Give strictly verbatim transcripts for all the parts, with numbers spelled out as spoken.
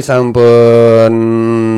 Sampun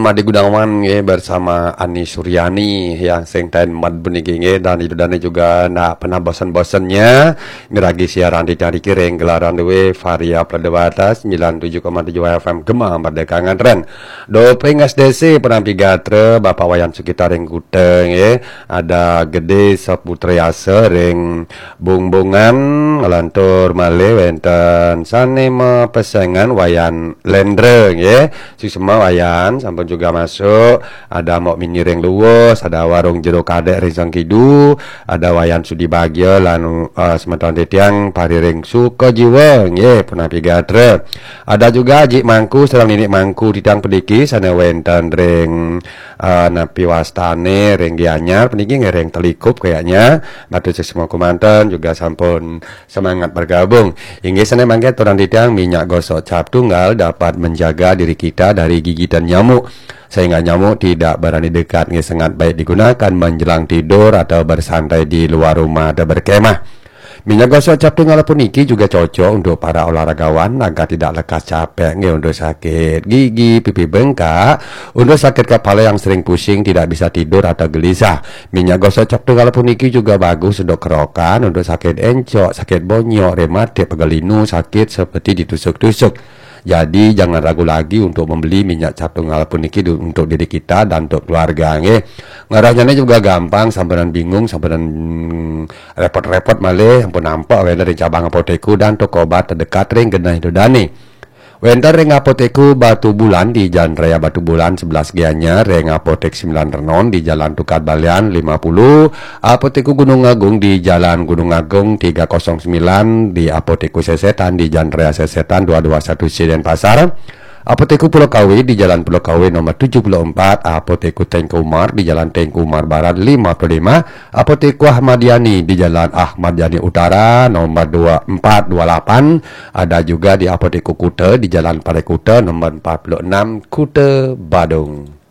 Made Gunawan nggih bersama Ani Suryani yang sing ten mad puniki nggih, dan Ida Dane juga ndak pernah bosen-bosennya miragi siaran di Tari Kiring gelaran W Varia Pradewata sembilan tujuh koma tujuh F M Gema Merdeka Ngantren. Doping S D C penampi gatra Bapak Wayan Sukita ring Kuta nggih, ada Gede Saputriasa ring Bungbungan, ngelantur malih wenten sane mapesengan Wayan Lendra nggih. Suksma Wayan sampun juga masuk, ada Mok Mini ring Luwus, ada Warung Jero Kadek ring Sangkidu, ada Wayan Sudi Bagia lan uh, semeton titiang pari ring Sukajiwa nggih, punapi gatra. Ada juga Ajik Mangku sareng Ninik Mangku titiang pediki sane wenten ring uh, napi wastane ring Gianyar puniki nggih ring Telikup kayaknya. Matur suksma kumanten juga sampun semangat bergabung. Inggih sane mangke aturan titiang minyak gosok cap tunggal dapat menjaga diri kita dari gigitan nyamuk. Sehingga nyamuk tidak berani dekat nggih, sangat baik digunakan menjelang tidur atau bersantai di luar rumah atau berkemah. Minyak gosok cap tunggal puniki juga cocok untuk para olahragawan agar tidak lekas capek nggih, untuk sakit gigi, pipi bengkak, untuk sakit kepala yang sering pusing, tidak bisa tidur atau gelisah. Minyak gosok cap tunggal puniki juga bagus untuk kerokan, untuk sakit encok, sakit bonyok, rematik, pegal linu, sakit seperti ditusuk-tusuk. Jadi jangan ragu lagi untuk membeli minyak cap tunggal puniki du- untuk diri kita dan untuk keluarga nggih. Ngarahnya juga gampang, sampeyan bingung, sampeyan repot-repot malih, ampun nampak wenten ring cabang apoteku dan toko obat terdekat ring genah Ida Dane. Wenten ring apoteku Batu Bulan di Jalan Raya Batu Bulan sebelas Gianyar, ring apotek Sembilan Renon di Jalan Tukad Balian lima puluh, apoteku Gunung Agung di Jalan Gunung Agung tiga kosong sembilan, di apoteku Sesetan di Jalan Raya Sesetan dua dua satu Siden Pasar, apoteku Pulau Kawe di Jalan Pulau Kawe nomor tujuh puluh empat, apoteku Tengku Umar di Jalan Tengku Umar Barat lima puluh lima, apoteku Ahmad Yani di Jalan Ahmad Yani Utara nomor dua empat dua lapan, ada juga di apoteku Kuta di Jalan Parai Kuta nomor empat puluh enam, Kuta Badung.